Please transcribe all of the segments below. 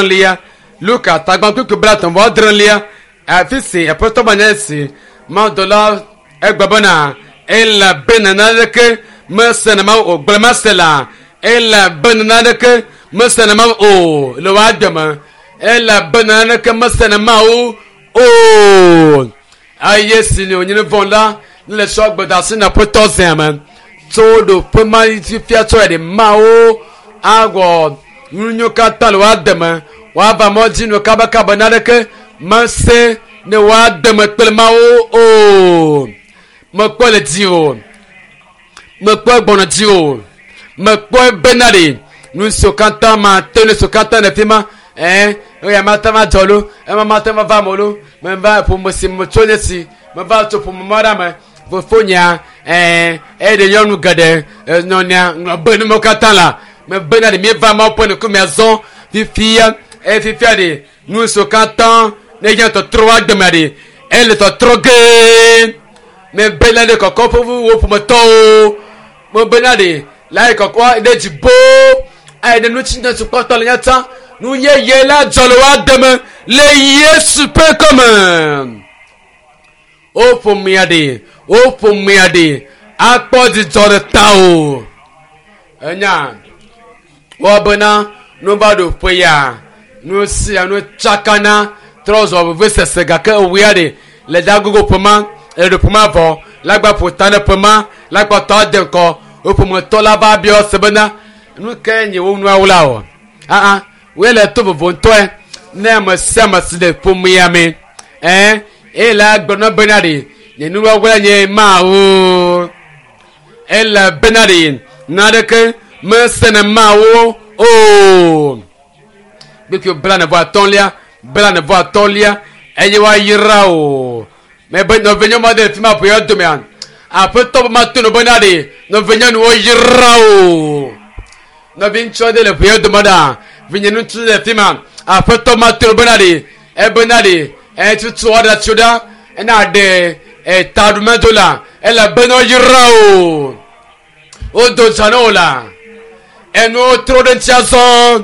Lia Luka tagba kpukpui 36 afi si aƒetɔ ba nye si mawudɔla egbe bena elabena naneke mesena mawu o gblẽ mase la elabena naneke mesena mawu o le wò agbe me elabena naneke mesena mawu o eye si ne wònye nu vɔ̃ la ne le sɔ gbedasi na aƒetɔ zea me tso ɖoƒe ma fifia tsɔ ɖe mawo awɔ nu katã le woade me woava mɔ dzi nu kabakaba naneke mese ne woade me kple mawo o mekpɔ le dzi o mekpɔ gbɔna dzi o mekpɔ bena ɖe nu siwo katã ma te nu siwo katã le fi ma ɛɛ eya ma te ma dzɔ lo ema ma te ma va me lo meva ƒome si me tso nye si meva tso ƒome ma ɖe me fofonya ɛɛ eɖe nyɔnu geɖe nɔnɔa ŋlɔ be numewo katã la mebena ɖe mieva mawo ƒe ŋkume azɔ fifia eye fifia ɖe nu siwo katã ne nye tɔtrɔ wa gbeme ɖe ele tɔtrɔ gee mebena ɖe kɔkɔ ƒe wo ƒometɔwo mebena ɖe la yi kɔkɔ ɖe dzi boo eye ɖe nutsi ne sukpɔtɔ le nyata nu yeye la dzɔ le wa deme le Yesu ƒe kɔme wo ƒomea ɖe wo ƒomea ɖe akpɔ dzidzɔ ɖe ta o enya wɔbena nu va ɖo ƒe ya nu sia nu tsakana trɔ zɔ veve sese gake ewuya ɖe le dagogo ƒema eɖo ƒema vɔ lagba ƒo ta ne ƒema lagba tɔ ade ŋkɔ wo ƒometɔ la va biɔ se bena nu ke nye wo nuawo la o aa woe le to vovo ŋutɔe ne ame sia ame si le ƒomea me ɛɛ eye la gblɔ bena ɖe nye nuawo la nye mawo ele bena ɖe naneke mesene mawo o gbekui 35 35 eye woayra o mebe nɔvinyɔnu aɖe le fi ma ƒoya domea aƒetɔ be mato no bena ɖe nɔvinyɔnuwo yra o nɔvi ŋutsu aɖe le ƒoya dome ɖa vinye ŋutsu le fi ma aƒetɔ mato no bena ɖe ebena ɖe etutu aɖe tso ɖa ena ɖe etaɖumedo la ele bena yra o wodo dza ne wo la enuwo trɔ ɖe ŋuti azɔ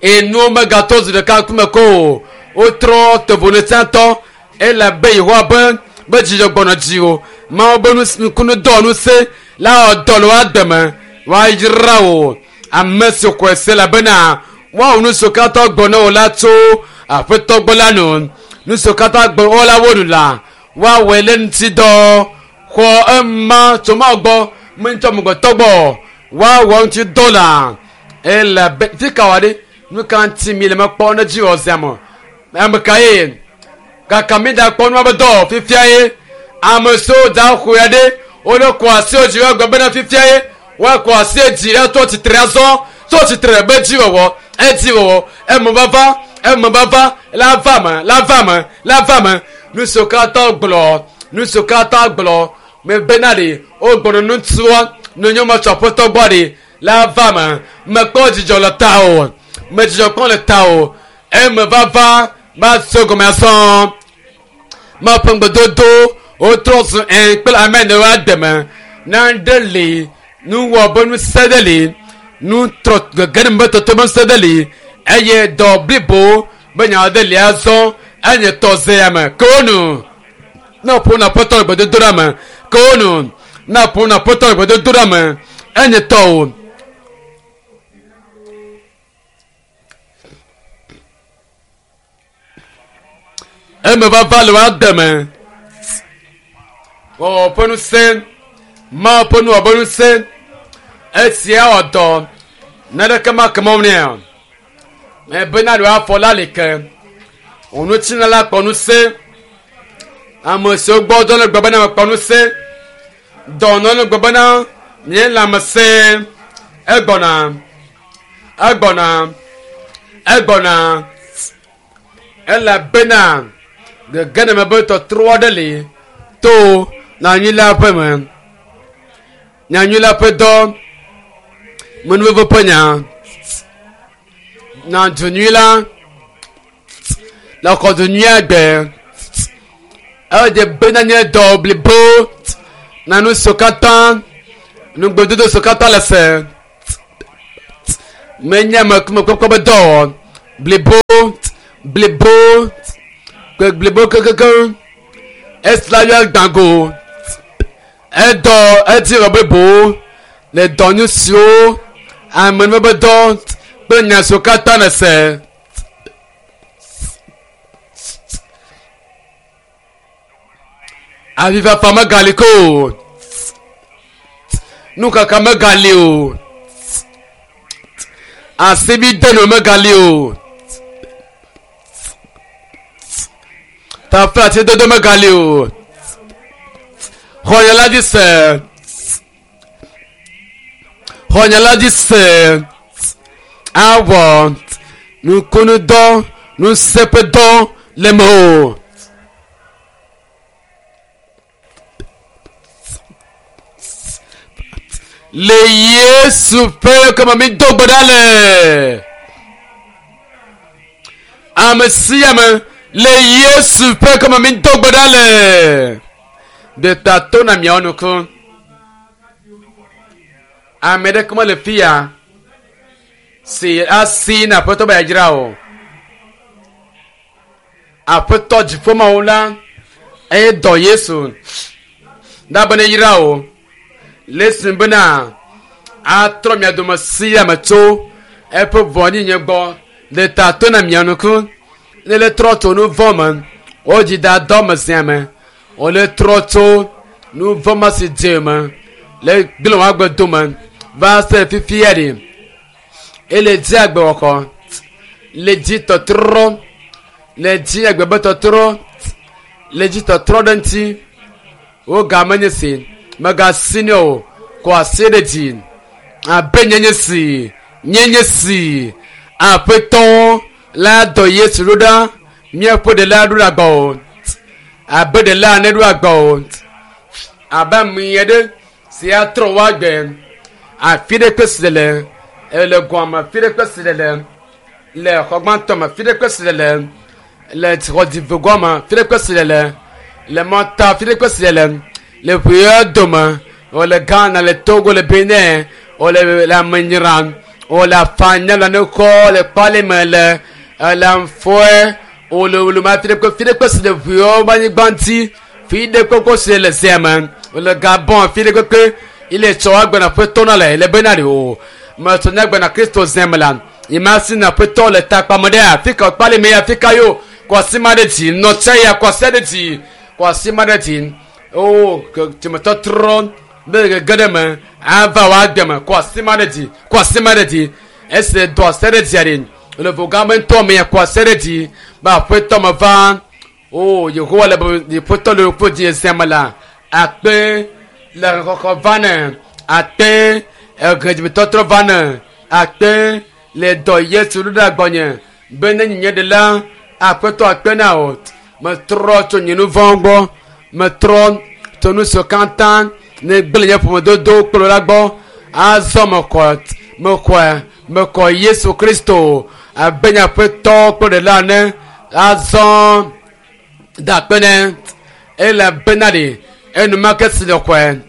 enuwo megatɔ zi ɖeka ŋkume ko o wotrɔ tovonutsatɔ ele be yehowa be be dzidzɔ gbɔnɔ dzi o mawo be nukunu dɔ nuse la wɔ dɔ le woa deme woayra o ame si xɔe se la bena woawɔ nu siwo katã gbɔ ne wo la tso aƒetɔ gbɔ la nu nu siwo katã gbɔ wo la wo nu la woawɔe le ŋuti dɔ xɔ ema tso mawo gbɔ me ŋutɔ amegbetɔ gbɔ woawɔ ŋuti dɔ la ele be fi ka wa ɖe nu ka ŋuti mi le mekpɔ ne dzi wɔ zia me ame ka ye kaka mi da kpɔ nua be dɔ fifia ye ame siwo da xɔ ya ɖe wole kɔ asi wo dzi woagblɔ bena fifia ye woakɔ asi dzi etɔ tsitre azɔ tɔ tsitre be dzi wɔwɔ edzi wɔwɔ eme vava eme vava la va me la va me la va me nu siwo katã gblɔ nu siwo katã gblɔ me bena ɖe wogbɔnɔ ŋutsua nonyɔmɔ tso aƒetɔ gbɔ ɖe la va me mekpɔ dzidzɔ le ta o me dzidzɔ kpɔm le ta o eme vava va se gɔme azɔ maƒe ŋgbedodo wotrɔ zu ɛ kple ame ne wa deme nane li nuwɔ be ŋusẽ ɖe li nu trɔ gege ɖe be tɔtɔ be ŋusẽ ɖe li eye dɔ blibo be nya ɖe li azɔ enye tɔ ze ya me ke wo nu ne ƒo na ƒetɔ le gbedodo ɖe me ke wo nu ne ƒo na ƒetɔ le gbedodo ɖe me enye tɔ o. Eme vava le wa deme wɔwɔ ƒe ŋusẽ mawo ƒe nuwɔ ƒe ŋusẽ esia wɔ dɔ naneke ma ke mɔ nɛ o ebena ɖe afɔ la li ke onutsina la kpɔ ŋusẽ ame siwo gbɔ dɔ le gbɔ bena mekpɔ ŋusẽ dɔnɔ le gbɔ bena nye lãmesẽ egbɔna egbɔna egbɔna elabena gege ne me be tɔtrɔ aɖe li to nyanyui la ƒe me nyanyui la ƒe dɔ menuveve ƒe nya na du nyui la le xɔ du nyui agbe ede bena nye dɔ blibo na nu siwo katã nugbedodo siwo katã le se menye ame mekpɔkpɔ be dɔ wɔ. Blibo, blibo, blibo kekekeŋ. Esi la yɔ gbãgo. Edɔ edzi wɔ blibo le dɔ nu siwo ame be dɔ kple nya siwo katã nèse. Avifafa megali ke o. Nukaka megali o. Asibidenu megali o. Taflatsedodo megali o. Xɔnyela dzi se. Xɔnyela dzi se. Awɔ nukunudɔ, nuseƒedɔ le me o. Le Yesu ƒe keme mi do gbe ɖa le. Ame sia ame le Yesu ƒe keme mi do gbe ɖa le. Ɖeta to na miawo nuku. Ame ɖeke mele fi ya si asi na Aƒetɔ be yeadzra o. Aƒetɔ dziƒomawu la eye dɔ Yesu ɖa be ne yra o. Le esi bena atrɔ mia dome sia me tso eƒe vɔ̃ɖinyenye gbɔ. Ɖeta to na mia nuku. Ne le trɔ tso nu vɔ̃ me, wodzi da dɔ me zia me. Wole trɔ tso nu vɔ̃ ma si dze me le gblẽ wò agbe dome va se fifia ɖi. Ele dzi agbewɔxɔ, le dzi tɔtrɔ, le dzi agbe be tɔtrɔ, le dzi tɔtrɔ ɖe ŋuti. Wo game nye si, megasi nɛ o, kɔ asi ɖe dzi. Abe nye nye si, nye nye si. Aƒetɔ la dɔ Yesu ɖo ɖa, míaƒe ɖela ɖo ɖe agba o. Abe ɖela ne ɖo agba o. Abe ame aɖe si atrɔ wò agbe. Afi ɖe kpe si le, le gɔme afi ɖe kpe si le, le xɔ gbãtɔ me afi ɖe kpe si le, le xɔ gɔme afi ɖe kpe si le, le mɔta afi ɖe kpe si le, le ʋuya dome, wole Ghana, le Togo, le Benin, wole le Amenyra, wole Afanya, le Nukɔ, le Kpalime, le le Nfɔe, wole wole ma afi ɖe kpe fi ɖe kpe si le ʋuyawo be anyigba ŋuti, fi ɖe kpe si le zea me, wole Gabon afi ɖe kpekpe, ile tsɔ agbe na Aƒetɔ na le le bena ɖe o. Metsɔ nye agbe na Kristo zea me la, yi ma si na Aƒetɔ le takpame ɖe afi ka Kpalime ya afi ka yo, kɔ asi ma ɖe dzi, nɔ tse ya kɔ asi ɖe dzi, kɔ asi ma ɖe dzi. O dzimetɔtrɔ be gege ɖe me ava wò agbe me, kɔ asi ma ɖe dzi, kɔ asi ma ɖe dzi. Esi dɔ asi ɖe dzia ɖi, le vogã me ŋutɔ me kɔ asi ɖe dzi be Aƒetɔ me va. O Yehowa le be Aƒetɔ le ƒe dzi zea me la, akpe le xɔxɔ va ne, akpe ehe dzimetɔtrɔ va ne, akpe le dɔ Yesu ɖo ɖe gbɔnye be ne nye ɖela Aƒetɔ akpe na wò. Metrɔ tso nye nu vɔ̃wo gbɔ, metrɔ tso nu siwo katã ne gblẽ nye ƒomedodo kple la gbɔ. Azɔ mexɔ, mexɔe, mexɔ Yesu Kristo abe nye Aƒetɔ kple ɖela ene. Azɔ da akpe nɛ elabena ɖe enumake si le xɔe,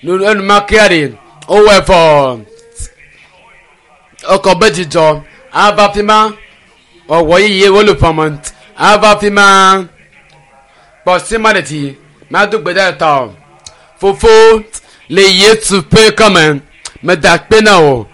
enumakea ɖe wowɔe vɔ. Ekɔ be dzidzɔ ava fi ma. Ɔwɔ yeye wole ƒame ava fi ma. Kpɔ si ma ɖe dzi mado gbe ɖa tɔ. Fofo le Yesu ƒe kɔme meda akpe na wò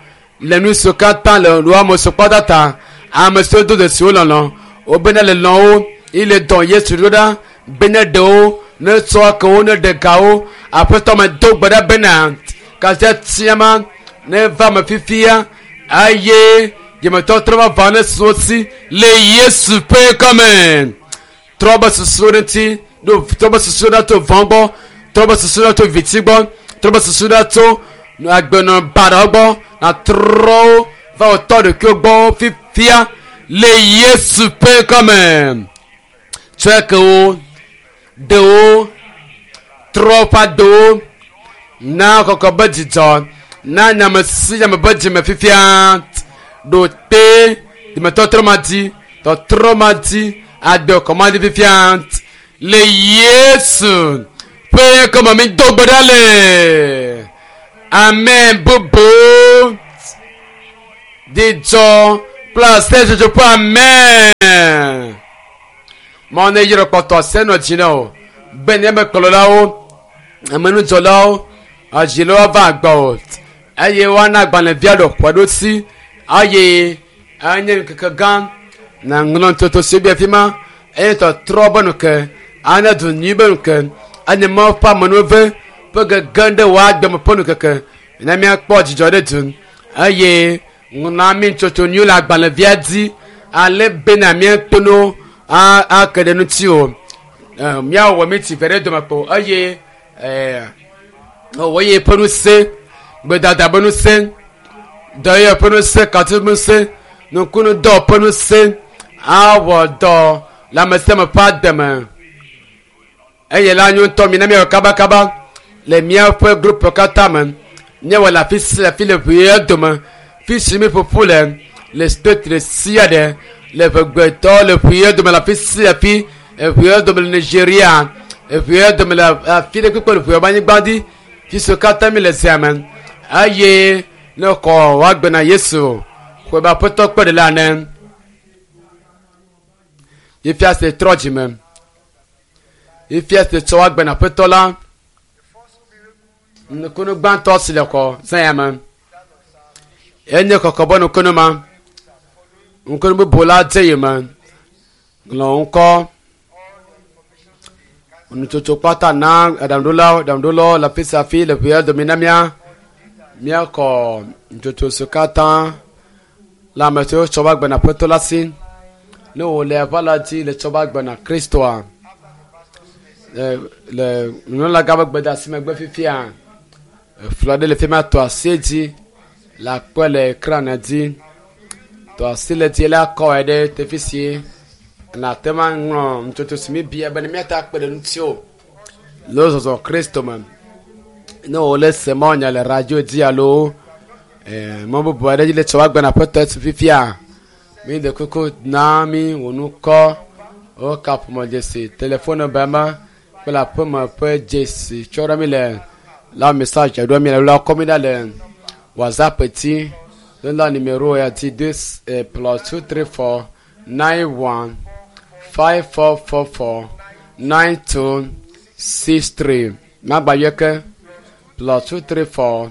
le nu siwo katã le wò ame siwo kpɔta ta ame siwo do dzesi wo lɔlɔ wobe ne le lɔ̃ wo yi le dɔ Yesu ɖo ɖa be ne ɖe wo ne tsɔ ke wo ne ɖe ga wo. Aƒetɔ me do gbe ɖa bena kasia tia ma ne va me fifia eye dzimetɔtrɔ vavã ne su wo si le Yesu ƒe kɔme. Trɔ be susu ɖe ŋuti, ɖo trɔ be susu ɖa tso vɔ̃ gbɔ, trɔ be susu ɖa tso viti gbɔ, trɔ be susu ɖa tso agbenɔ baɖawo gbɔ, natrɔ wo va wò tɔ ɖokuiwo gbɔ fifia le Yesu ƒe kɔme. Tsɔe ke wo, ɖe wo, trɔ woƒe agbewo, na kɔkɔ be dzidzɔ, na nyame si nyame be dzime fifia, ɖo te dzimetɔtrɔ ma dzi, tɔtrɔ ma dzi, agbe kɔ ma dzi fifia le Yesu ƒe kɔme mi do gbe ɖa le. Amen bubu. Dzidzɔ Kple aseyetsotso ƒe amen. Mawu ne yrɔ kpɔtɔ ase nɔ dzi na wò be ne mekplɔlawo, amenudzɔlawo, adzilawo ava agbɔ o eye woana agbalẽvia ɖɔ ƒe ɖo si eye enye ŋkeke gã na ŋlɔ ntoto si bia fi ma eye tɔtrɔ be nuke ane du nyui be nuke anye Mawu ƒe amenuve ƒe gege ɖe wò agbe me ƒe nukeke ne míakpɔ dzidzɔ ɖe du eye ŋlɔ mi ntsotso nyui le agbalẽvia dzi ale bena míato no ake ɖe ŋuti o. Míawɔ mi tsi ve ɖe dome kpo eye wɔye ƒe ŋusẽ, gbedada ƒe ŋusẽ, dɔyɔyɔ ƒe ŋusẽ, katu ƒe ŋusẽ, nukunudɔ ƒe ŋusẽ awɔ dɔ le ame sia ame ƒe agbe me. Eye la nyo ŋutɔ mina míawɔ kabakaba le míaƒe group katã me. Míawɔ le afi sia afi le ʋee dome. Fi si mi ƒoƒu le le state ɖe sia ɖe le ʋegbetɔ le ʋee dome le afi sia afi eʋee dome le Nigeria eʋee dome le afi ɖe kpekpe le ʋee ƒe anyigba dzi fi siwo katã mi le zia me eye ne xɔ woagbe na Yesu xɔe be aƒetɔ kpe ɖe la ene. Fifia se trɔ dzime. Fifia se tsɔ woagbe na aƒetɔ la. Nukunu gbãtɔ si le xɔ zã ya me enye kɔkɔ be nukunu ma. Nukunu bubu la dze yi me. Ŋlɔ ŋkɔ. Nutsotso kpata na aɖaŋuɖolawo aɖaŋuɖolawo le afi sia afi le ʋea dome na mía míakɔ nutsotso siwo katã le ame siwo tsɔ va gbena aƒetɔ la si. Ne wòle aʋa la dzi le tsɔ va gbena Kristoa le le nunɔlagã ƒe gbedeasi megbe fifia efli aɖe le fi ma tɔ asi edzi le akpɔe le ekran dzi. Tɔ asi le dzi la kɔe ɖe teƒe si nate ŋu aŋlɔ nutsotso si míbia be ne míate akpe ɖe ŋuti o le wo zɔzɔ Kristo me. Ne wòle se mawunya le radio dzi alo mɔ bubu aɖe dzi le tsɔ woagbe na aƒetɔ esi fifia mi ɖe kuku na mi wò ŋkɔ, wò kaƒomɔ dzesi, telefon nɔmba kple aƒeme ƒe dzesi tsɔ ɖe mi le la message ɖo mi le la kɔ mi ɖa le WhatsApp dzi. La numéro ya dzi 2 plus 2 3 4 9 1 5 4 4 4 9 2 6 3. Magba yɔ ke plus 2 3 4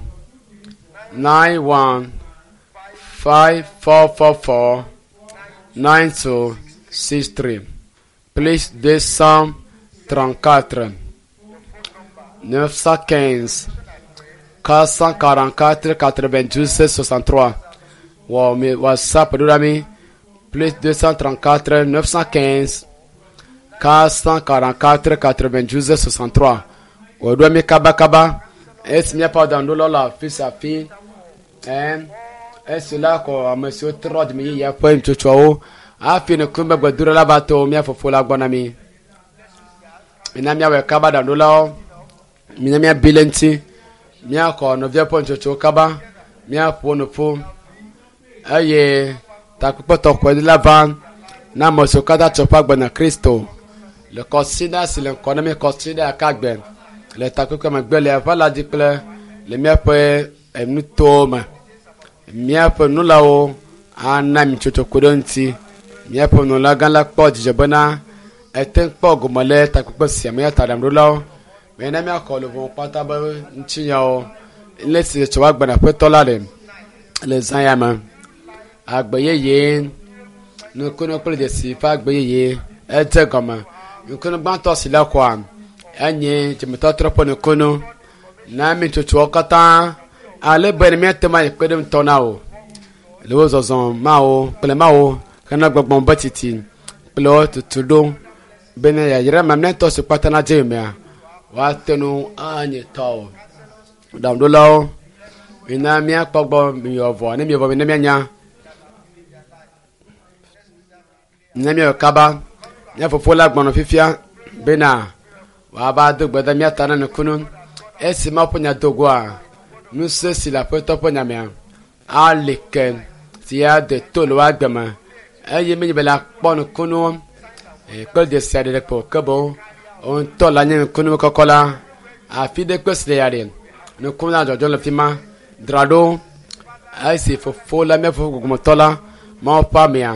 9 1 5 4 4 4 9 2 6 3 plus 234 915 444 92 63. Wɔ mi WhatsApp ɖo ɖa mi plus 234 915 444 92 63. Wɔ ɖo mi kabakaba esi míaƒe aɖaŋuɖolawo le afi sia afi ɛn esi la kɔ ame siwo trɔ dzime yeyea ƒe nutsotsoawo hafi nukume gbedoɖa la va to mía fofo la gbɔ na mi. Mina míawɔe kaba aɖaŋuɖolawo mina míabi le ŋuti míaxɔ nɔvia ƒe nutsotsowo kaba míaƒo nu ƒu eye takpekpe tɔxɛ la va na ame siwo katã tsɔ ƒe agbe na Kristo le kɔsiɖa si le ŋkɔ na mí kɔsiɖa aka gbe le takpekpe megbe le aʋa la dzi kple le míaƒe nutowo me. Míaƒe nulawo ana mi tsotso ku ɖe ŋuti. Míaƒe nunɔlagã la kpɔ dzidzɔ bena ete ŋu kpɔ gome le takpekpe sia me eya ta aɖaŋuɖolawo mena míaxɔ luʋɔ kpata be ŋutinyawo le si tsɔ woagbe na aƒetɔ la le le zã ya me. Agbe yeye nukunu kple dzesi ƒe agbe yeye edze gɔme. Nukunu gbãtɔ si le xɔa enye dzimetɔtrɔ ƒe nukunu na mi tsotsoawo katã ale be ne míate ŋu ayi kpe ɖe ŋutɔ na wo le wo zɔzɔ mawo kple mawo hena gbɔgbɔ be tsitsi kple wo tutu ɖo bene yayra mamlɛtɔ si kpata na dze mea woate ŋu anye tɔwo. Ɖaŋuɖolawo mina míakpɔ gbɔ miwɔ vɔ ne miwɔ vɔ ne míanya ne míawɔ kaba mía fofo la gbɔnɔ fifia bena wòava do gbe ɖe mía ta na nukunu esi Mawu ƒe nya do goa ŋusẽ si le aƒetɔ ƒe nya mea ali ke si ade to le woagbe me eye menye be la kpɔ nukunuwo kple dzesi aɖe ɖe ko ke boŋ ŋutɔ la nye nukunu kɔkɔ la afi ɖe kpe si le ya ɖe nukunu la dzɔdzɔ le fi ma dzra ɖo esi fofo la mía fofo gbɔgbɔmetɔ la Mawu ƒe amea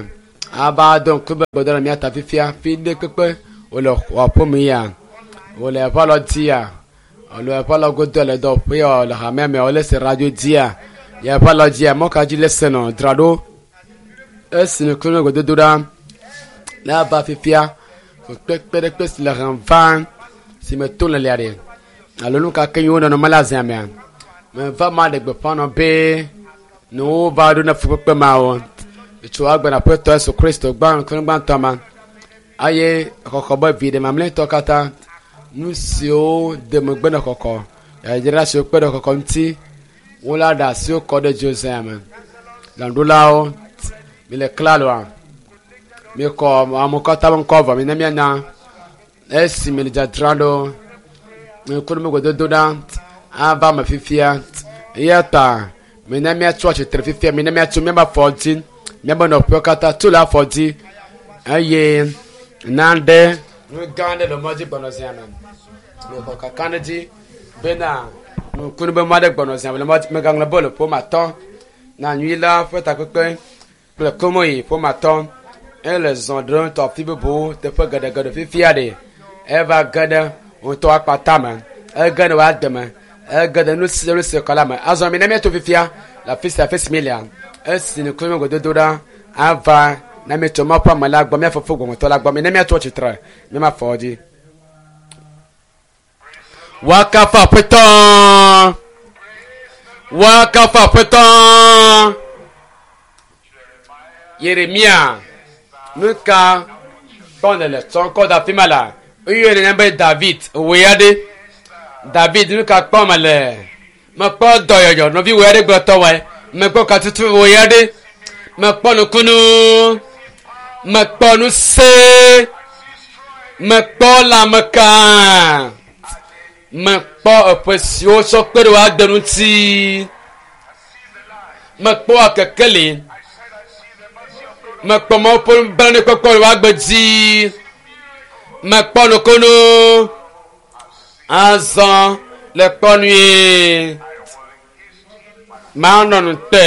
ava do ŋku be gbɔdɔ le mía ta fifia fi ɖe kpekpe wòle aƒeme ya wòle eƒe alɔ dzia alo eƒe alɔ godo le dɔƒe ya le hamea me wòle se radio dzia ya eƒe alɔ dzia mɔ ka dzi le se nɔ dzra ɖo esi ŋku me gbedodo ɖa ne ava fifia kpekpe ɖe kpe si le hem va si me to le lia ɖe alo nu ka ke yi wo nɔnɔme le azia mea meva ma ɖe gbeƒã nɔ be ne wova ɖo ne fukpekpe mawo tso agbena Aƒetɔ Yesu Kristo gbã ŋku gbãtɔ ma eye xɔxɔ be viɖe mamlɛtɔ katã nu siwo de megbe ne xɔxɔ yadzra siwo kpe ɖe xɔxɔ ŋuti wola ɖe asiwo kɔ ɖe dzozea me lãɖulawo mi le klaloa mikɔ amewo katã ƒe ŋkɔ vɔ mi ne mianya esi mi le dzadzra ɖo ŋkuɖomegododo ɖa ava me fifia eya ta mina míatso atsitre fifia mina míatso míaƒe afɔ dzi míaƒe nɔƒewo katã tso le afɔ dzi eye naɖe nu gã aɖe le mɔ dzi gbɔnɔ zia me mexɔ kaka ɖe dzi bena nukunu be mɔ aɖe gbɔnɔ zia me le mɔ dzi megaŋlɔ be le ƒome atɔ na nyui la ƒe takpekpe kple komoyi ƒome atɔ ele zɔ ɖem tɔ afi bubuwo teƒe geɖegeɖe fifia ɖe eva ge ɖe ŋutɔ akpata me ege ɖe wòa deme ege ɖe nu sia nu si kɔ la me azɔ mi ne míato fifia le afi sia afi si mi lea esi nukunu me gododo ɖa ava ne míetso Mawu ƒe ame la gbɔ mía fofo gbɔmɔtɔ la gbɔ mi ne míatso tsitre míama afɔ dzi woakafu Aƒetɔ woakafu Aƒetɔ Yeremia nu ka kpɔ nele tsɔ ŋkɔ da afi ma la eye nenya be David wòe aɖe David nu ka kpɔ mele mekpɔ dɔyɔyɔ nɔvi wòe aɖe gblɔ tɔwɔe mekpɔ katutu wòe aɖe mekpɔ nukunu mekpɔ nuse mekpɔ lãmeka mekpɔ eƒe siwo tsɔ kpe ɖe woade ŋuti mekpɔ kekeli mekpɔ Mawu ƒe nublanuikpɔkpɔ le woagbe dzi mekpɔ nukunu azɔ le kpɔ nue manɔ nu te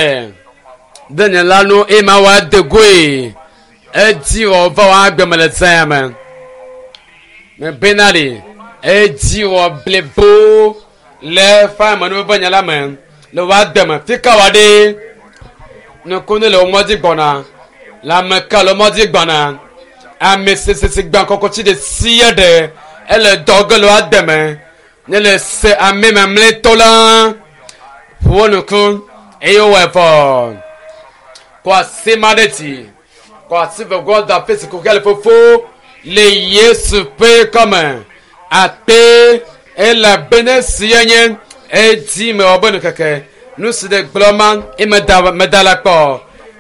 ɖe nye la nu eye mawɔ ade goe edzi wɔ va wɔ agbe me le zã me mebena ɖi edzi wɔ blibo le eƒe amenuveve nya la me le wɔ ade me fika wɔ ɖe nukunu le wo mɔ dzi gbɔna le ame ka le wo mɔ dzi gbɔna ame sesese gbã kɔkɔtsi ɖe sia ɖe ele dɔ ge le wo ade me ne le se ame mamlɛtɔ la ƒo wo nuku eye wowɔe vɔ kɔ asi ma ɖe dzi kɔ asi vegɔ da afi si kuxia le fofo le Yesu ƒe kɔme akpe elabena sia nye edzi mewɔ be nukeke nu si ɖe gblɔ ma eye meda meda la kpɔ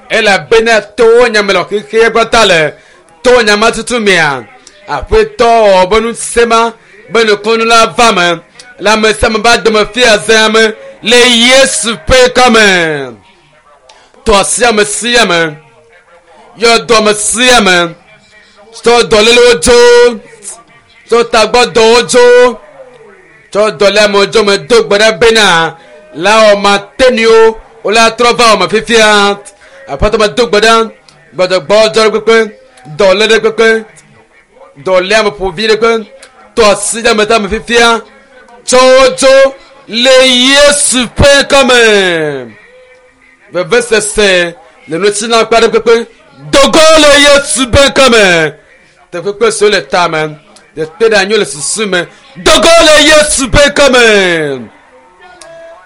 elabena towo nyame le xexea gbɔta le to nyama tutu mea aƒetɔ wɔ be nu sema be nukunu la va me le ame sia ame ba dome fia zea me le Yesu ƒe kɔme tɔ asi ame sia ame yɔ dɔ ame sia ame tsɔ dɔlélewo dzo tsɔ tagbɔdɔwo dzo tsɔ dɔléamewo dzo me do gbe ɖe bena la wɔ ma teniwo wole atrɔ va wɔ me fifia aƒetɔ me do gbe ɖe gbɔdɔgbɔ dzɔ ɖe kpekpe dɔlé ɖe kpekpe dɔléame ƒovi ɖe kpe tɔ asi ɖe ame ta me fifia tsɔ wo dzo le Yesu ƒe kɔme vevesese le nutsina kpe ɖe kpekpe dogo le Yesu ƒe kɔme teƒekpe siwo le tame teƒe ɖe anyi le susu me dogo le Yesu ƒe kɔme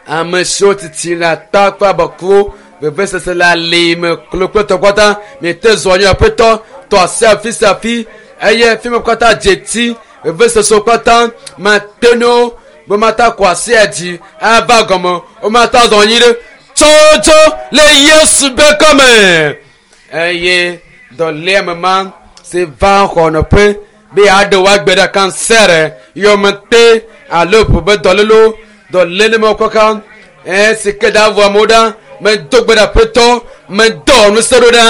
ame siwo titi le ata kple abɔkuwo vevesese le ali me klo kple tɔkpata miete zɔ anyi aƒetɔ tɔ asi afi sia afi eye fi me katã dze ti vevesesewo katã mate ne wo be mata kɔ asia dzi ava gɔme womata zɔ anyi ɖe tsɔtsɔ le Yesu ƒe kɔme eye dɔléame ma si va xɔ nɔƒe be yeaɖe woagbe ɖe kansɛr yɔmete alo ƒo be dɔlélewo dɔléle me kɔka ɛ si ke da vɔ amewo ɖa medo gbe ɖe aƒetɔ medɔ ŋusẽ ɖo ɖa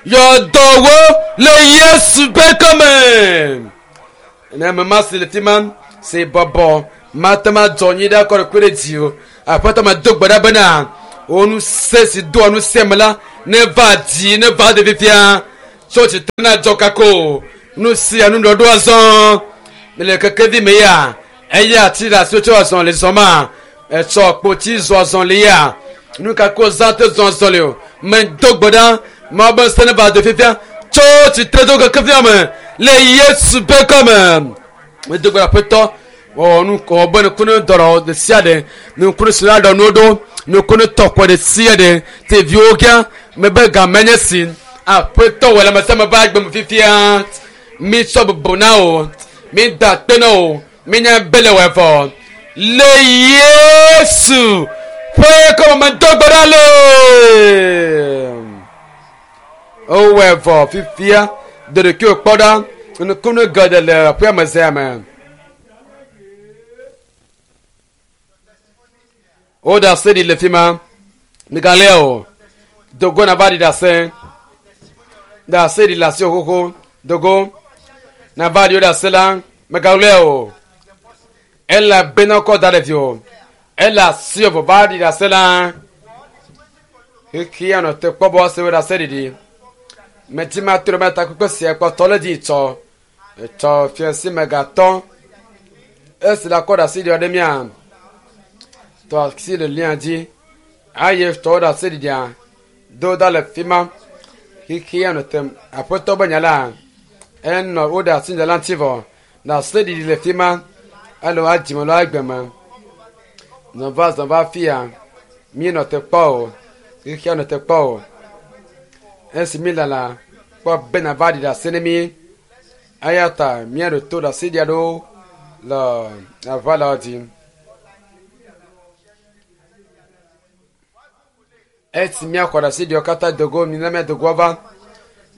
yɔ dɔwo le Yesu ƒe kɔme ne ame ma si le fi ma si bɔbɔ mate ma dzɔ nyi ɖe akɔ ɖe kpe ɖe dzi o aƒetɔ medo gbe ɖa bena wo ŋusẽ si doa ŋusẽ me la Ne va dzi, ne va de fifia. Tso tsitre na dzɔ kako. Nu sia nu ɖɔɖo azɔ. Le kekevi me ya. Eya ti le asi tso azɔ le zɔ ma. Etsɔ kpotsi zɔ azɔ le ya. Nu kako zã te zɔ azɔ le o. Me do gbe ɖa. Mawu be ŋusẽ ne va de fifia. Tso tsitre do kekevia me. Le Yesu be gɔme. Me do gbe ɖa aƒetɔ. Wɔ nu wɔ be nukunu dɔrɔ ɖe sia ɖe. Nukunu si la ɖɔ nuwo ɖo. Nukunu tɔkɔ ɖe sia ɖe. Teviwo gã. Mebe game nye si. Aƒetɔ wɔ le ame sia ame ƒe agbe me fifia. Mi tsɔ bubu na wo. Mi da akpe na wo. Mi nya be le wɔ vɔ. Le Yesu ƒe kɔme me do gbe ɖa le. Wowɔe vɔ fifia. Do ɖokuiwò kpɔ ɖa. Nukunu geɖe le aƒea me zea me. Woɖe ase ɖi le fi ma. Migalé o. Dogo nava ɖi ɖase. Ɖe ase ɖi le asiwò xoxo. Dogo nava ɖi wo ɖe ase la. Megalé o. Elabena wokɔ da ɖe viwò. Ele asiwò vɔ va ɖi ɖase la. Xexea nɔ te kpɔ be woase wo ɖe ase ɖiɖi. Medi mato ɖe mía takpekpe sia kpɔtɔ le dzi tsɔ. Etsɔ fiasi megatɔ. Esi la kɔ ɖe asi ɖi ɖe mía. Tɔ asi le lia dzi. Aye tɔ ɖe asi ɖiɖia. Do da le fi ma. Xexea nɔ te aƒetɔ be nya la. Enɔ wo ɖe asi nya la ŋuti vɔ. Ɖe asi ɖiɖi le fi ma. Alo adzime alo agbe me. Zɔva zɔva fia. Mi nɔ te kpɔ o. Xexea nɔ te kpɔ o. Esi mi lala kpɔ be nava ɖi ɖe asi ne mi. Eya ta míaɖo to ɖe asi ɖi aɖewo le aʋa la dzi. Esi míaxɔ ɖe asi ɖiwo katã dogo mina míadogo va.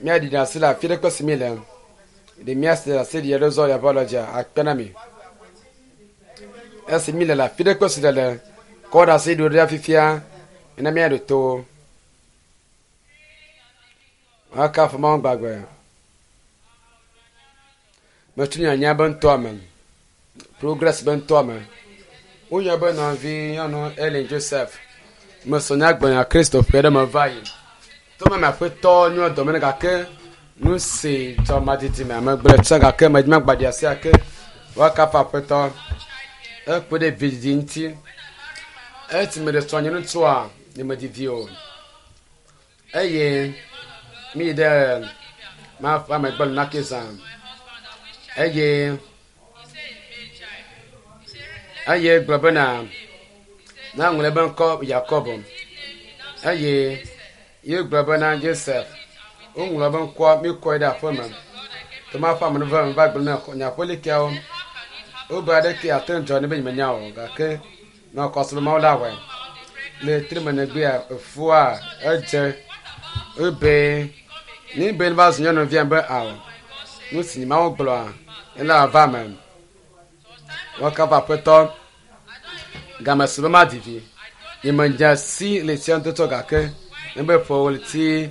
Míaɖi ɖe asi le afi ɖe kpe si mi le. Ɖe míase ɖe asi ɖi aɖewo zɔ le aʋa la dzia akpe na mi. Esi mi le le afi ɖe kpe si le le kɔ ɖe asi ɖiwo ɖe fifia mina míaɖo to. Woakafu Mawu gbagbe. Metu nyanya be ŋutɔa me. Progress be ŋutɔa me. Woyɔ be nɔvi nyɔnu Ellen Joseph. Mesɔ nya gblɔ Kristo ƒe ɖe me va yi. Tome me aƒetɔ nyɔ dɔme ne gake nu si dzɔ madidi me ame gblɔ tsã gake medzi magbaɖi asi ake woakafu aƒetɔ. Ekpe ɖe vidzidzi ŋuti. Esi meɖe srɔ̃ nye ŋutsua nye medzi vi o. Eye mi yi ɖe maƒe ame gbɔ le nake zã. Eye eye gblɔ bena na ŋlɔ ebe ŋkɔ Yakob. Eye ye gblɔ bena Joseph. Woŋlɔ be ŋkɔa mi kɔe ɖe aƒe me. Toma ƒe ame va va gblɔ na nye aƒelikeawo. Wobe aɖeke ate ŋu dzɔ ne be nyemenya o gake nɔ kɔsrɔ̃ Mawu la wɔe. Le tri me megbea efua edze ebe ni be va zu nyɔnuvia be ao. Nu si Mawu gblɔa ele va me. Woakafu aƒetɔ. Game si be madi vi. Nyemedze si le tsia ŋutɔ gake ne be ƒe ɣleti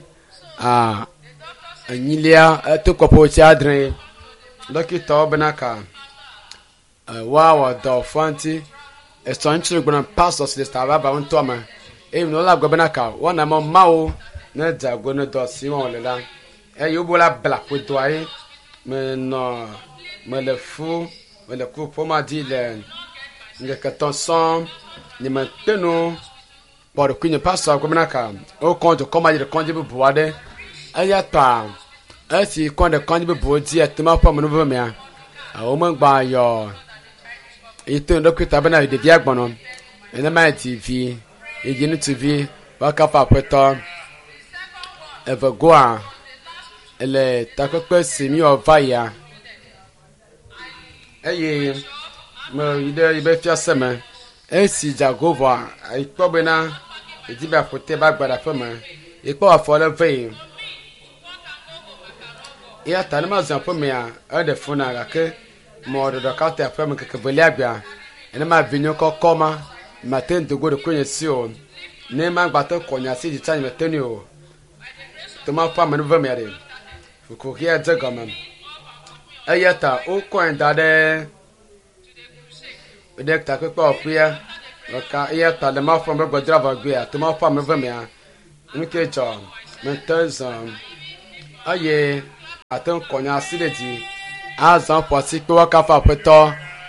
a enyilia eto kɔƒe ɣleti adre. Dɔkitawo bena ka woawɔ dɔ fua ŋuti. Esɔ ŋutsu gblɔ pastor si le Savaba ŋutɔ me. Eye nunɔla gblɔ bena ka woana mɔ Mawu ne dze ago ne dɔ si wɔm wòle la. Eye wobo la bla ƒodoa ye. Menɔ mele fu mele ku ƒom adi le ŋkeke tɔ̃ sɔŋ. Nyemete nu kpɔ ɖokuinye pastor gblɔ bena ka wokɔ dukɔ ma dzi ɖe kɔdzi bubu aɖe. Eya ta esi kɔ ɖe kɔdzi bubuwo dzi etema ƒe amenuveve mea, womegba yɔ yi to ɖokui ta bena ɖevia gbɔnɔ. Nenema dzi vi yi dzi ŋutsuvi woakafu aƒetɔ. Eve goa le takpekpe si míwɔ va yia eye meyi ɖe yiƒe fiase me. Esi dze ago vɔa ekpɔ bena yedi be yeaƒo te be agba ɖe aƒeme. Yekpɔ afɔ ɖe vee. Eya ta ne mazɔ aƒemea eɖe fu na gake mɔ ɖeka te aƒeme ŋkeke velia gbea nenema vinye kɔkɔ ma mate ŋu do go ɖokuinye si o. Ne magba te kɔ nye asi dzi tsã nyemete ŋui o. Toma ƒe amenuveve mea ɖe kuxia dze gɔme. Eya ta wokɔe da ɖe ɖe takpekpe wɔƒea. Ɖeka eya ta le Mawu ƒe ame gbedra vɔ gbea Toma ƒe amenuveve mea nu ke dzɔ. Mete zɔ eye ate ŋu kɔ nye asi ɖe dzi azɔ ƒo asi kpe woakafu Aƒetɔ.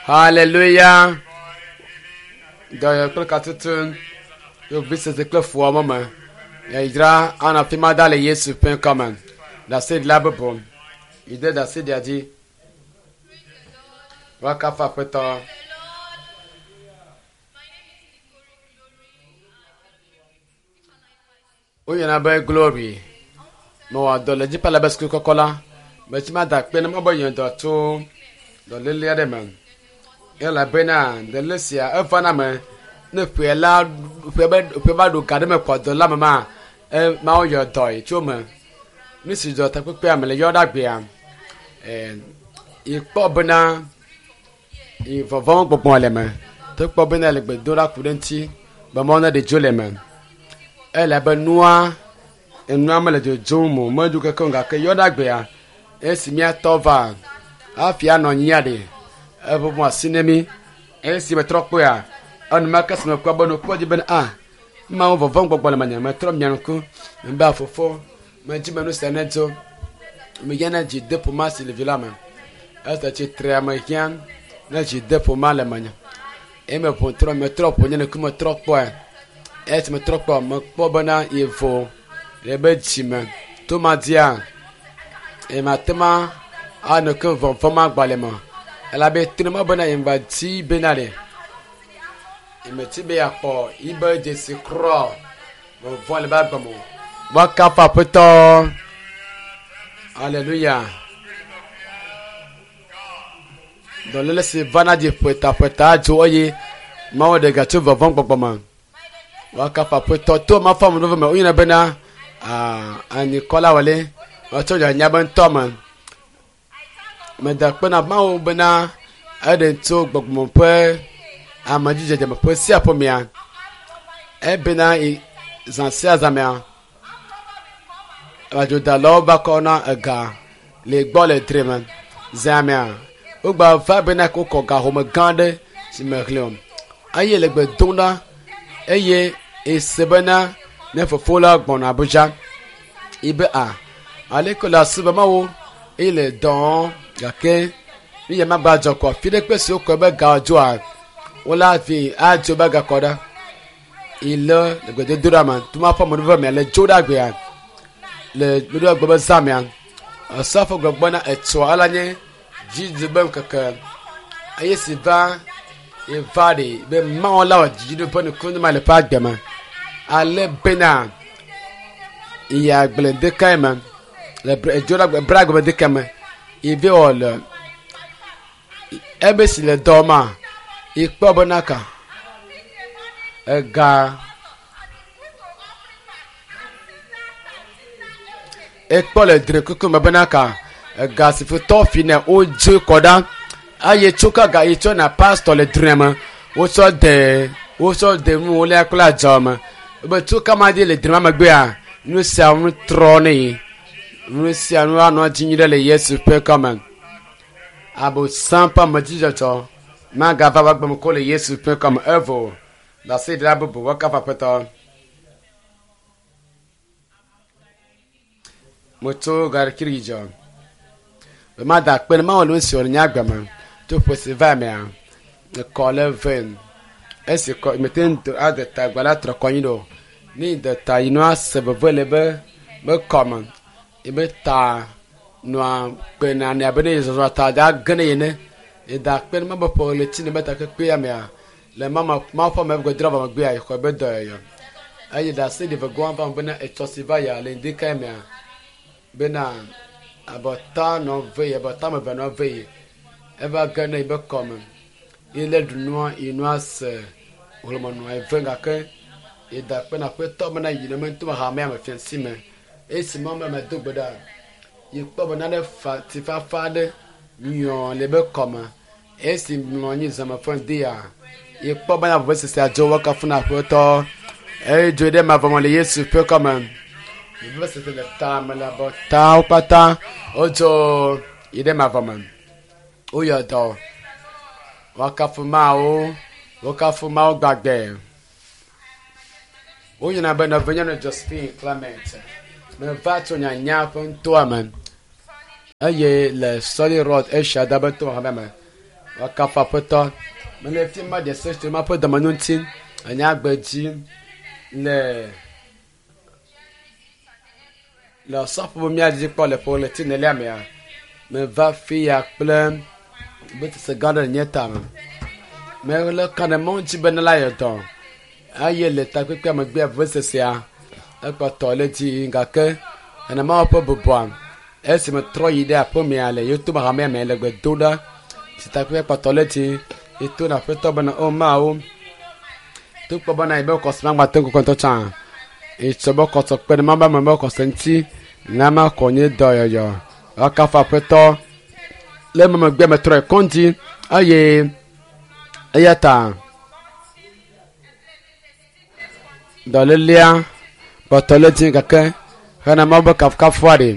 Haleluya. Dɔyɔyɔ kple katutu vevisese kple fuwɔame me. Yayra anɔ afi ma ɖa le Yesu ƒe ŋkɔ me. Ɖaseɖila bubu yi ɖe ɖaseɖia dzi. Woakafu Aƒetɔ. Woyɔna be Glory. Mewɔ dɔ le dziƒo le be suku kɔkɔ la. Metsi mada akpe ne mebe nye dɔ tso dɔléle aɖe me. Elabena dɔléle sia eva na ame ne ƒe la ƒe be ƒe va ɖo ga ɖe me kɔ dɔ la me ma e Mawu yɔ dɔe tso eme. Nu si dzɔ takpekpea me le yɔ ɖe agbea e yi kpɔ bena yi vɔvɔ̃ gbɔgbɔ le eme. To kpɔ bena le gbe dom ɖa ku ɖe eŋuti be Mawu neɖe dzo le eme. Elabe nua enua mele dzodzom o meɖu keke o gake yɔ ɖe agbea esi míatɔ va hafi anɔ anyia ɖe eʋuʋu asi ne mí. Esi metrɔ kpɔea enumake esi mekpɔ be nukpɔ dzi be a Mawu vɔvɔ̃ gbɔgbɔ le menye metrɔ mia ŋku mebe fofo medzi be nu sia nedzo mehiã ne dzi de ƒo ma si le vi la me. Esi tsitre mehiã ne dzi de ƒo ma le menye. Eye meƒo trɔ metrɔ ƒo nye ŋkume trɔ kpɔe. Esi metrɔ kpɔ mekpɔ bena yevo le be dzime to madia eye mate ma anɔ ke vɔvɔ̃ ma gbalẽ me elabe trɔ ma bena yemgba dzi bena ɖe yemeti be yeakpɔ yibe dzesi kura vɔvɔ̃ le be agbe me o. Woakafu Aƒetɔ. Aleluya. Dɔléle si vana dzi ƒetaƒeta dzo eye Mawu ɖe ga tso vɔvɔ̃ gbɔgbɔ me. Woakafu Aƒetɔ to Mawu ƒe amenuveve me. Woyɔna bena anyikɔla wɔle woatsɔ nyanya be ŋutɔ me. Meda akpe na Mawu bena eɖe tso gbɔgbɔme ƒe amedzidzedze me ƒe sia ƒe mea. Ebena zã sia zã mea adzodalawo va kɔ na ega le gbɔ le tre me. Zã mea wogba va bena wokɔ ga home gã aɖe si mexlẽ o eye le gbe dom ɖa eye ese bena ne fofo la gbɔna Abuja yi be a aleke le asi be mawo eye le dɔ gake nu ya magba dzɔ kɔ fi ɖe kpe si wokɔ be ga dzoa wola fi adzo be gakɔ ɖa ile le gbedodoɖa me tuma ƒe amenuveve mea le dzo ɖe agbea le nuɖoa gbe be zã mea esɔfo gbɔgbɔ na etsɔ ala nye dzidzi be ŋkeke eye si va eva ɖe be Mawu la wɔ dzidziɖo ƒe nukunu ma le ƒe agbe me ale bena yi agble ɖekae me le dzo ɖe bra gbe ɖeka me yi be wɔ le ebe si le dɔ ma yi kpɔ bena ka ega ekpɔ le dre kuku me bena ka ega si futɔ fi ne wodze kɔ ɖa eye tso ka ga yi tsɔ na pastor le dre me wotsɔ de wotsɔ de nu wole kple adzɔ me be tso kama dzi le dre ma megbea nu sia nu trɔ ne yi nu sia nu anɔ dzi nyui ɖe le Yesu ƒe kɔme abosam ƒe amedzidzɔdzɔ magava va gbeme ko le Yesu ƒe kɔme evo ɖaseɖila bubu woakafu Aƒetɔ. Metso garikiri dzɔ. Be mada akpe ne Mawu le nu si wɔ le nye agbe me tso ƒe si va mea ekɔ le vem. Esi kɔ mete ŋu do ade ta agba la trɔ kɔ anyi ɖo. Ne de ta yi nua se veve le be be kɔme ebe ta nɔa kpena ne abe ne zɔzɔ ta da ge ne ene. Eda akpe ne Mawu ƒe ɣleti ne be takpekpea mea le mama Mawu ƒe ame gbedra vɔ megbea xɔ be dɔyɔyɔ. Eye ɖase ɖi vegɔa va bena etsɔ si va ya le ŋdi kae mea bena abɔta nɔ ve yi abɔta me ve nɔ ve yi eva ge ne yibe kɔme ye le ɖu nua yi nua se hlɔme nɔa eve gake eda akpe na Aƒetɔ bena yi ne me ŋutɔ hamea me fiasi me esi ma me do gbe ɖa yi kpɔ be nane fa tifafa aɖe nyɔ le be kɔme esi mlɔ anyi zãme fɔ ŋdi ya yi kpɔ bena vevesese adzo woakafu na Aƒetɔ eye dzo ɖe mavɔ me le Yesu ƒe kɔme vevesese le ta me le abɔtawo katã wodzo yi ɖe mavɔ me woyɔ dɔ woakafu Mawu wokafu Mawu gbagbe woyina be nɔvinyɔnu Josephine Clement Meva tso nyanya ƒe nutoa me eye le Solid Rock Asia da be to hame me. Woakafu Aƒetɔ. Mele fi ma ɖe se tso maƒe dɔmenyo ŋuti le nye agbe dzi le le osɔfo be mía dzi kpɔ le ƒe ɣleti enelia mea. Meva fi ya kple betese gã aɖe le nye tame. Mele ka ɖe mɔ dzi be ne la yɔ dɔ eye le takpekpea megbea vevesesea ekpɔtɔ le dzi yim gake nenema woƒe bubua esi metrɔ yi ɖe aƒemea le yeto hamea me le gbe dom ɖa si takpekpea kpɔtɔ le dzi yeto na aƒetɔ bena o Mawu to kpɔ bena yi be kɔsɔ magba te ŋu kɔntɔ tsã etsɔ be kɔsɔ kpe ɖe maba me be kɔsɔ ŋuti na ma kɔ nye dɔyɔyɔ woakafu aƒetɔ le eme megbe metrɔ yi kɔndzi eye eya ta dɔlélea kpɔtɔ le dzi gake hena Mawu be kafukafua ɖe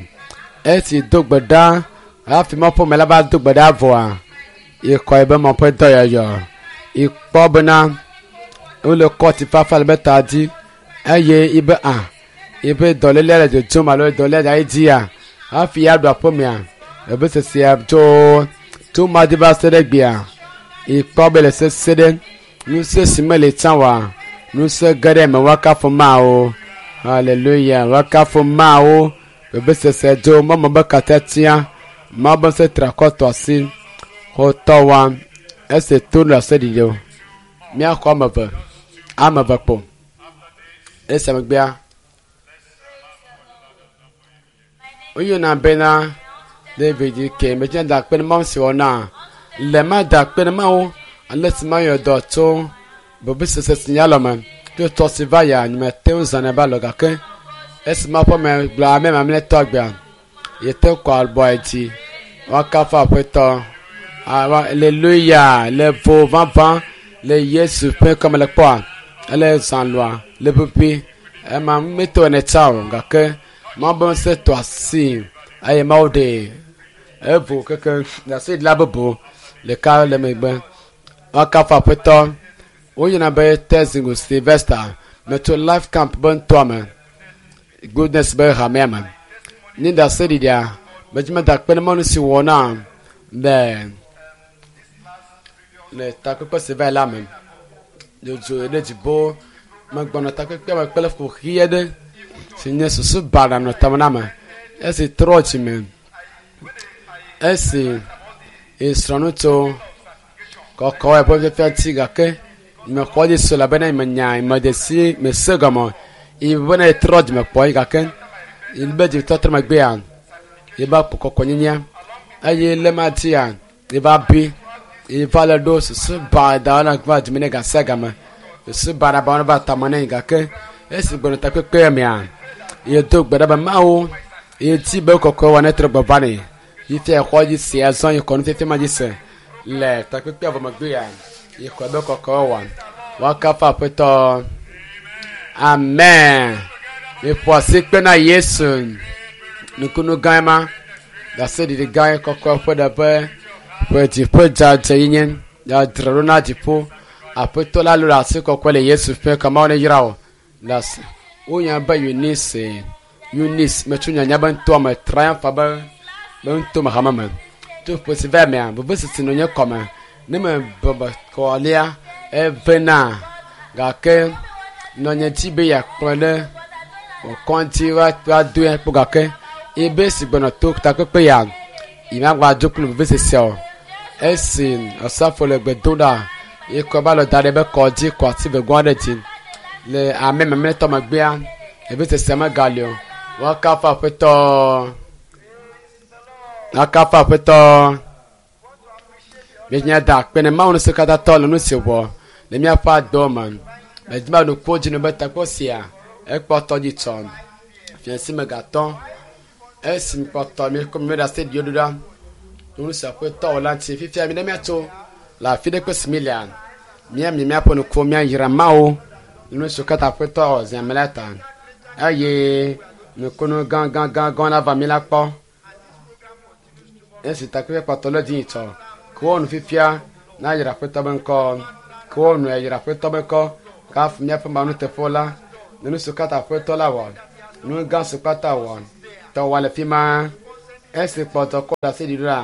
esi do gbe ɖa hafi Mawu ƒe ame la va do gbe ɖa vɔa yekɔ yi be Mawu ƒe dɔyɔyɔ yekpɔ bena wole kɔti fafa le be ta dzi eye yibe a yibe dɔlélea le dzodzom alo dɔlélea dza dzia hafi ya ɖu aƒemea ebe sesia tso tso ma dzi va se ɖe gbea yekpɔ be le sese ɖe ŋusẽ si mele tsã oa ŋusẽ ge ɖe eme woakafu Mawu hallelujah woakafu Mawu vevesese dzo mɔmɔ be katatia Mawu be ŋusẽ tra kɔ tɔ asi xɔtɔ wa ese to le ase ɖiɖi o míaxɔ ame eve ame eve kpo esia megbea woyɔna bena David ke medze da akpe ne Mawu si wɔ na le ma da akpe ne Mawu ale si mayɔ dɔ tso vevesese si nye alɔme tso tɔ si va ya nyemete ŋu zãnɛ va lɔ gake esi Mawu ƒe ame gblɔ ame mamlɛtɔ agbea yete kɔ abɔ dzi woakafu Aƒetɔ Hallelujah le vo vavã le Yesu ƒe kɔme le kpɔa ele zã lɔa le ƒuƒui ema meto ene tsa o gake Mawu be ŋusẽ tɔ asi eye Mawu ɖe evo keke ɖaseɖila bubu ɖeka le megbe woakafu Aƒetɔ woyɔna be Tezingo Sylvester metso Life Camp be nutoa me Goodness be hamea me nye ɖaseɖiɖia medzi meda akpe ne mɔnu si wɔ na le le takpekpe si va yi la me dzodzo ɖe dziƒo megbɔnɔ takpekpea me kple kuxi aɖe si nye susu baɖa nɔ tame na me esi trɔ dzime esi esrɔ̃ nu tso kɔkɔ eƒe fiafia ŋuti gake mexɔ dzi se elabena menya mede si mese gɔme yi bena etrɔ dzime kpɔ yi gake yi be dzimetɔtrɔ megbea yi va kpɔ kɔkɔnyenyea eye le ma dzia yi va bi yi va le ɖo susu baɖa na va dzime ne gasia game susu baɖa ba va tame ne gake esi gbɔnɔ takpekpe mea yi do gbe ɖa be Mawu yi dzi be kɔkɔe wɔ ne trɔ gbɔ va ne yi fia xɔ dzi se azɔ yi kɔ nufiafia ma dzi se le takpekpea vɔ megbea yi xɔ be kɔkɔe wɔ woakafu Aƒetɔ amen miƒo asi kpe na Yesu nukunu gã ma ɖaseɖiɖi gã kɔkɔe ƒe ɖe ƒe ƒe dziƒo dzadze yi nye dzadzra ɖo na dziƒo Aƒetɔ la lolo asi kɔkɔe le Yesu ƒe kɔmawo ne yra o ɖase wonya be Eunice Eunice metso nyanya be ŋutɔ me triumph be be ŋutɔ me hame me to ƒe si va mea vevesese nɔ nye kɔme ne me bɔbɔ kɔlia evena gake nɔnye dzi be yeakplɔe ɖe kɔŋdzi va doe kpɔ gake ebe si gbɔnɔ to takpekpe ya yi magba dzo kple vevesese o esi osɔfo le gbe dom ɖa yekɔ ba lɔ da ɖe be kɔ dzi kɔ asi vegoa aɖe dzi le ame mamlɛtɔ megbea vevesese megali o woakafu Aƒetɔ woakafu Aƒetɔ míenya da akpe ne Mawu ŋusẽkatãtɔ le nu si wɔ le míaƒe agbewo me medzi be nukuwo dzi ne be takpɔ sia ekpɔtɔ dzi tsɔ fiasi me gatɔ esi kpɔtɔ mi kɔ mi ɖe ase ɖiwo ɖo ɖa nu si Aƒetɔ wɔ la ŋuti fifia mi ne míatso le afi ɖe kpe si mi lea míami míaƒe nukuwo míayra Mawu nu si katã Aƒetɔ wɔ zi ame la ta eye nukunu gã gã gã gã la va mi la kpɔ esi takpekpe kpɔtɔ le dzi tsɔ ke wɔ nu fifia na yra Aƒetɔ be ŋkɔ ke wɔ nu yra Aƒetɔ be ŋkɔ kafu míaƒe Mawu nuteƒewo la ne nu si katã Aƒetɔ la wɔ Nu gã si kpata wɔ tɔwɔ le fi ma. Esi kpɔtɔ kɔ ɖe asi ɖi ɖoa,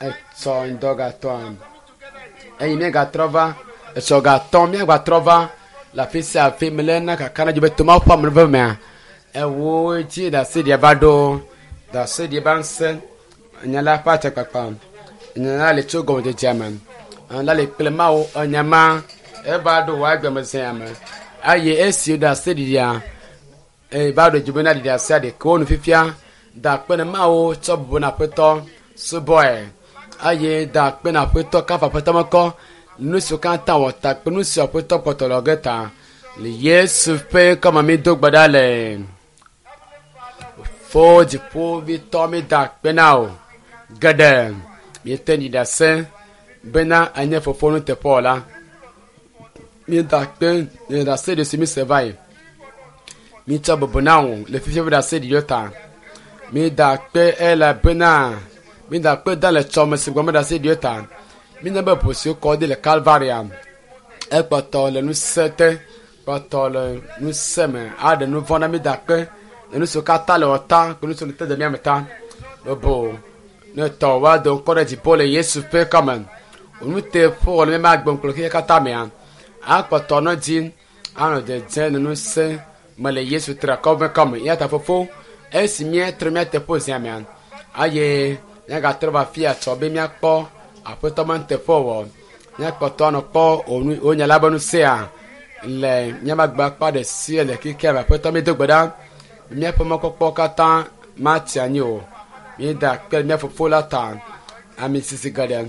etsɔ ŋdɔ gatɔa eye míegatrɔ va etsɔ gatɔ míagatrɔ va le afi sia afi mele na kaka na dzi be toma ƒe ame mea ewo dzi ɖase ɖia va ɖo ɖase ɖi ba ŋusẽ nya la ƒe atsakpakpa nya la le tso gɔmedzedzea me nya la le kple mawo enya ma eva ɖo wò agbemezea me eye esi ɖase ɖiɖia eye va ɖo dzibe na ɖiɖi asia ɖeke wo nu fifia da akpe ne mawo tsɔ bubu na aƒetɔ subɔe eye da akpe na aƒetɔ kafa aƒetɔ mekɔ nu siwo katã wɔ ta kple nu siwo aƒetɔ kpɔtɔ le ge ta le Yesu ƒe kɔme mi do gbe ɖa le fo dziƒovitɔ mi da akpe na o geɖe miete ɖi ɖase bena enye fofo nuteƒewɔla mi da akpe le ɖase ɖi si mi se va yi mi tsɔ bubu na wò le fifia ƒe ɖase ɖiɖiwo ta mi da akpe elabena mi da akpe da le tsɔme si gbɔme ɖase ɖiwo ta mi nya be ʋu si wokɔ ɖi le Kalvaria ekpɔtɔ le ŋusẽ te kpɔtɔ le ŋusẽ me aɖe nu vɔ̃ na mi da akpe le nu siwo katã le wɔ ta kple nu siwo le te de mía me ta lobo ne tɔ woado ŋkɔ ɖe dziƒo le Yesu ƒe kɔme nuteƒe wɔ le míaƒe agbe kple xexea katã mea akpɔtɔ nɔ dzi anɔ dzedze le ŋusẽ me le Yesu triakɔ ƒe kɔme eya ta fofo esi míetrɔ mía teƒe zia mea eye míagatrɔ va afia tsɔ be míakpɔ aƒetɔ me nuteƒewɔwɔ míakpɔtɔ anɔ kpɔ wò nya la be ŋusẽa le míaƒe agbe akpa ɖe sia le xexea me aƒetɔ míedo gbe ɖa míaƒe mɔkpɔkpɔ katã matsi anyi o míeda akpe ɖe mía fofo la ta ame sisi geɖe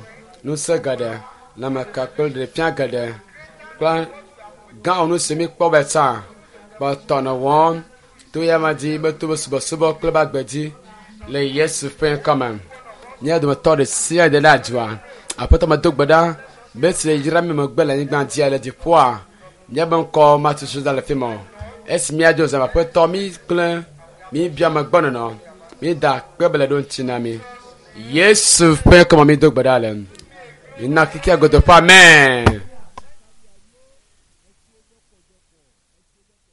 ŋusẽ geɖe lãmeka kple ɖeɖefia geɖe kple gã nu si míkpɔ be tsã kpɔtɔ nɔ wɔm to ya ma dzi be to be subɔsubɔ kple be agbe dzi le Yesu ƒe ŋkɔme mía dometɔ ɖe sia ɖe le adzɔa aƒetɔ medo gbe ɖa be si le yra mi megbe le anyigba dzia le dziƒoa míabe ŋkɔ matutu da le fi ma o esi míadzo zã aƒetɔ mí kple mí bia megbɔ nɔnɔ mí da akpe be le ɖo ŋuti na mi Yesu ƒe ŋkɔme mi do gbe ɖa le mina kikea godo ƒe amen.